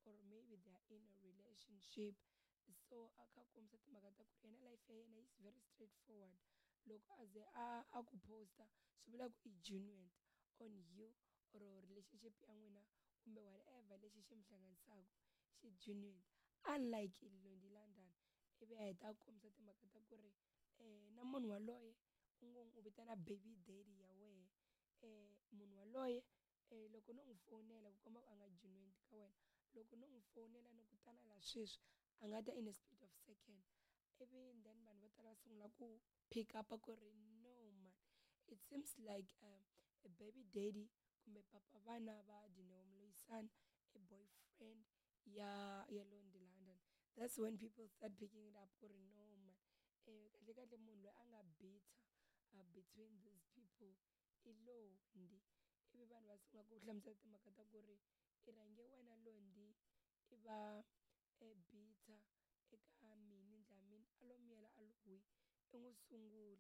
or maybe they are in a relationship. So a kha a kombisa timhaka ta ku ri yena life ya yena is very straight forward. Loko a ze a a ku posta swi vula ku i genuine on you or relationship ya n'wina kumbe whatever lexi xi mi hlanganisaka xi genuine, unlike Londy London. Ivi a heta a kombisa timhaka ta ku ri na munhu waloye u ngo u vitana baby daddy ya wehe, munhu waloye loko no n'wi fowunela ku komba ku a nga genuine ka wena, loko no n'wi fowunela ni ku tana la sweswi a nga ta in a split of second. Ivi then vanhu vo tala va sungula ku pick up ku ri no man, it seems like a baby daddy kumbe papa vana va Dineo Moloisane i boyfriend ya ya Londy London. That's when people start picking it up ku ri no man, kahle kahle munhu loyi a nga bitter between these people i Londy. Ivi vanhu va sungula ku hlamusela timhaka ta ku ri i rhange wena Londy i va bitter eka Minnie Dlamini, a lo miyela a lo hwi, i n'wi sungula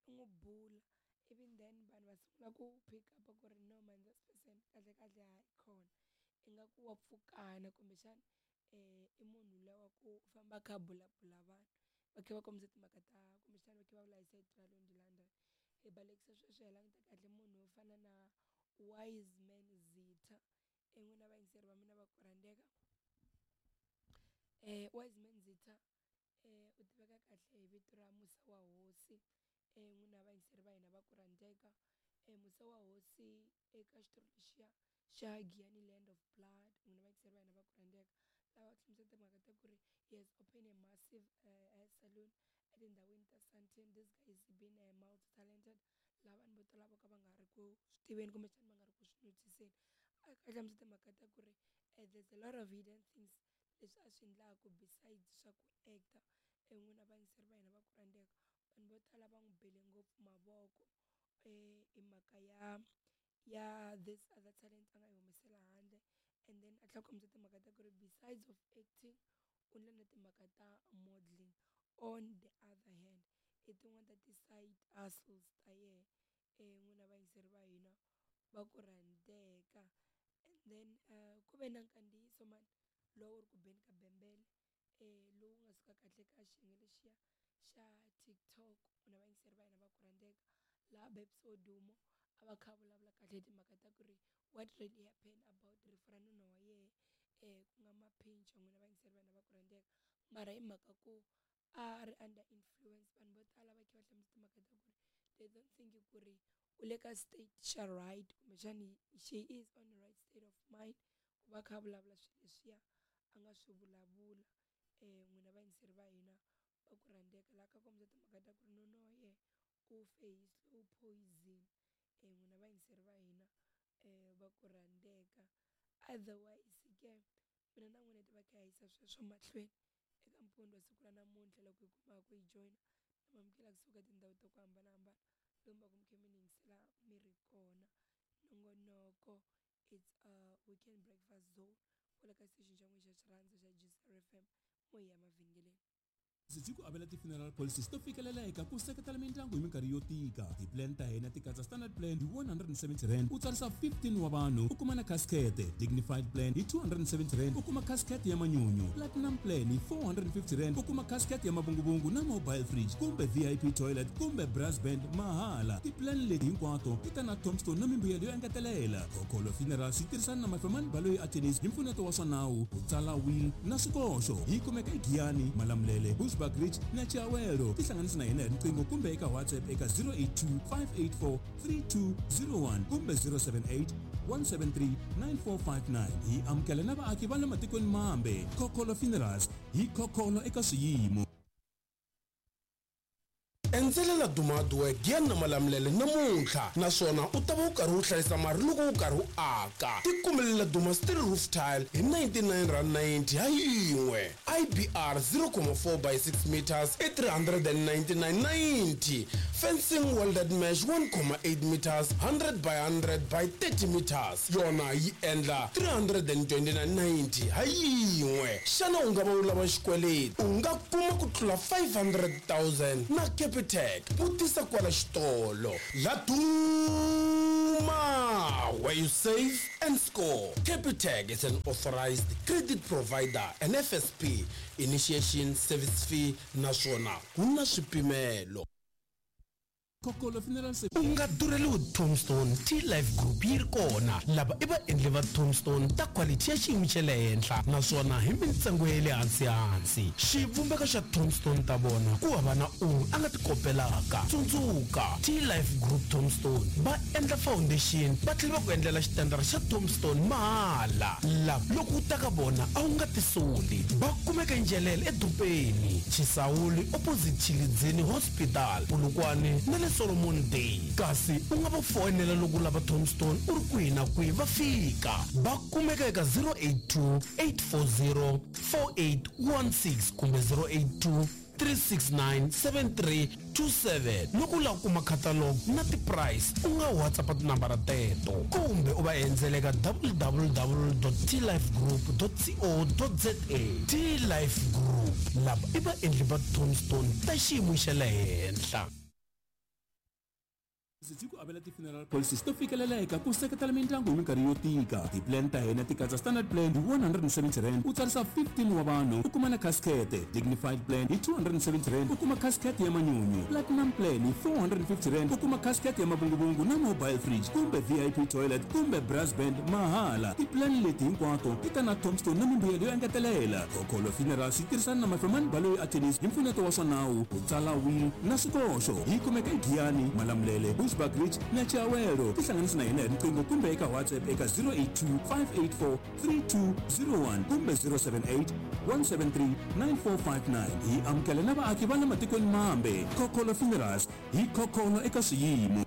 i n'wi bula. Ivi then vanhu va sungula ku pick up ku ri no man, this person kahle kahle hayi khona ingaku wa pfukana, kumbexana i munhu luya wa ku famba a kha a bulabula vanhu, va kha va kombisa timhaka ta kumbexana va kha va vula hi sayiti ra Londy London. Hi balekisa sweswo hi languta kahle munhu wo fana na Wiseman Zitha, n'wina vayingiseri va mina va ku rhandzeka. Wiseman Zitha u tiveka kahle hi vito ra Musa wa Hosi, n'wina vayingiseri va hina va ku rhandzeka. Musa wa Hosi eka xitori lexiya xa Giyani Land of Blood, n'wina vayingiseri va hina va ku rhandzeka, lava hlamusela timhaka ta ku ri he has opened a massive hair salon etindhawini ta Sandton. This guy is been a multi talented, laha vanhu vo tala vo ka va nga ri ku swi tiveni kumbexana va nga ri ku swi notice-eni. A kha a hlamusela timhaka ta ku ri there's a lot of hidden things leswi a swi endlaka besides swa ku actor. N'wina vayingiseri va hina va ku rhandzeka, vanhu vo tala va n'wi bele ngopfu mavoko hi mhaka ya ya this other talent a nga yi humesela handle. And then a tlhela a kombisa timhaka ta ku ri besides of acting u endla na timhaka ta modeling on the other hand, i tin'wani ta ti-side hustles ta yena, n'wina vayingiseri va hina va ku rhandzeka. And then ku ve na nkandziyiso mani lowu ri ku beni ka bembele, lowu nga suka kahle ka xiyenge lexiya xa TikTok, n'wina vayingiseri va hina va ku rhandzeka, laha Babes Wodumo a va kha vulavula kahle hi timhaka ta ku ri what really happened about rifu ra nuna wa yehe, ku nga Maphinca, n'wina vayingiseri va hina va ku rhandzeka. Mara hi mhaka ku a ri under influence, vanhu vo tala va kha va hlamusela timhaka ta ku ri they don't think ku ri u le ka state xa right, kumbexani she is on the right state of mind ku va kha a vulavula swilo leswiya a nga swi vulavula. N'wina vayingiseri va hina va ku rhandzeka, laha ka kombisa timhaka ta ku ri nuna wa yena u fe hi slow poison, n'wina vayingiseri va hina va ku rhandzeka. Otherwise ke mina na n'wina hi ta va kha hi yisa sweswo mahlweni eka mpfundo wa siku ra namuntlha. Loko hi kumaka ku hi joyina, na mamukela kusuka tindhawu ta ku hambanahambana lomu va ku mi kha mi ni yingisela mi ri kona. Nongonoko it's a weekend breakfast zone kwala ka xitichi xa n'wina xa xirhandza xa GCR FM, mo hi ya mavhengeleni. Byi ku avela ti-funeral policies to fikeleleka ku seketela mindyangu hi minkarhi yo tika. Ti-plan ta hina ti katsa standard plan hi 170 rand u tsarisa 15 wa vanhu u kuma na casket, dignified plan hi 270 rand u kuma casket ya manyunyu, platinum plan hi 450 rand u kuma casket ya mavunguvungu na mobile fridge kumbe VIP toilet kumbe brass band mahala. Ti-plan leti hinkwato ti ta na tombstone na mimbuyelo yo engetelela. Khokholo Funerals yi tirhisana na Mafemani Baloyi Attorneys hi mpfuneto wa swa nawu ku tsala will na swikoxo. Yi kumeka eGiyani, Malamulele, Bushbuck Ridge na Chiawelo. Tihlanganisi na hina hi riqingho kumbe eka WhatsApp eka 082 584 3201 kumbe 078 173 9459. Hi amukela na vaaki va le matikweni mambe. Khokholo Funerals, hi khokholo eka swiyimo. Endzelela Duma Hardware Giyani na Malamulele namuntlha naswona u ta va u karhi u hlayisa mali loko u karhi u aka. Tikumelela Duma Steel Roof Tile hi R99.90 ha yin'we. IBR 0.4 by 6 meters i R399.90. Fencing welded mesh 1.8 meters 100 by 100 by 30 meters yona yi endla R329.90 ha yin'we. Xana u nga va u lava xikweleti? U nga kuma ku tlula 500,000 na Capitec. Vutisa kwala xitolo. Laduma! Duma, where you save and score. Capitec is an authorized credit provider and FSP initiation service fee naswona ku na swipimelo. Kokolo Funeral U nga durheliwi Tombstone T-Life Group yi ri kona. Lava i vaendli va Tombstone ta quality ya xiyimo xa le henhla naswona hi mintsengo ya le hansi-hansi. Xivumbeko xa Tombstone ta vona ku hava na un'we a nga ti kopelaka. Tsundzuka, T-Life Group Tombstone va endla foundation va tlhela va ku endlela xitandara xa Tombstone mahala. Lava loko u ta ka vona a wu nga tisoli. Va kumeka eNjelele edorobeni, Chisawuli opposite Tshilidzini Hospital, Polokwane na le Solomon Day. Kasi u nga va foyinela loko u lava Tombstone u ri kwihi na kwihi va fika. Va kumeka eka 082 840 4816 kumbe 082 369 7327. Loko u lava ku kuma catalog na ti-price u nga WhatsApp tinambara teto kumbe u va endzela eka www.tlifegroup.co.za. T-Life Group, lava i vaendli va Tombstone ta xiyimo xa le henhla. Byi ku avela ti-funeral policies to fikeleleka ku seketela mindyangu hi minkarhi yo tika. Ti-plan ta hina ti katsa standard plan hi R170 u tsarisa 15 wa vanhu u kuma na casket, dignified plan hi R270 u kuma casket ya manyunyu, platinum plan hi R450 u kuma casket ya mavunguvungu na mobile fridge kumbe VIP toilet kumbe brass band mahala. Ti-plan leti hinkwato ti ta na tombstone na mimbuyelo yo engetelela. Khokholo Funerals yi tirhisana na Mafemani Baloyi Attorneys hi mpfuneto wa swa nawu ku tsala will na swikoxo. Yi kumeka eGiyani, Malamulele, Bushbuckridge na Chiawelo. Tihlanganisi na hina hi riqingho kumbe eka WhatsApp eka 082 584 3201 kumbe 078 173 9459. Hi amukela na vaaki va le matikweni mambe. Khokholo Funerals, hi khokholo eka swiyimo.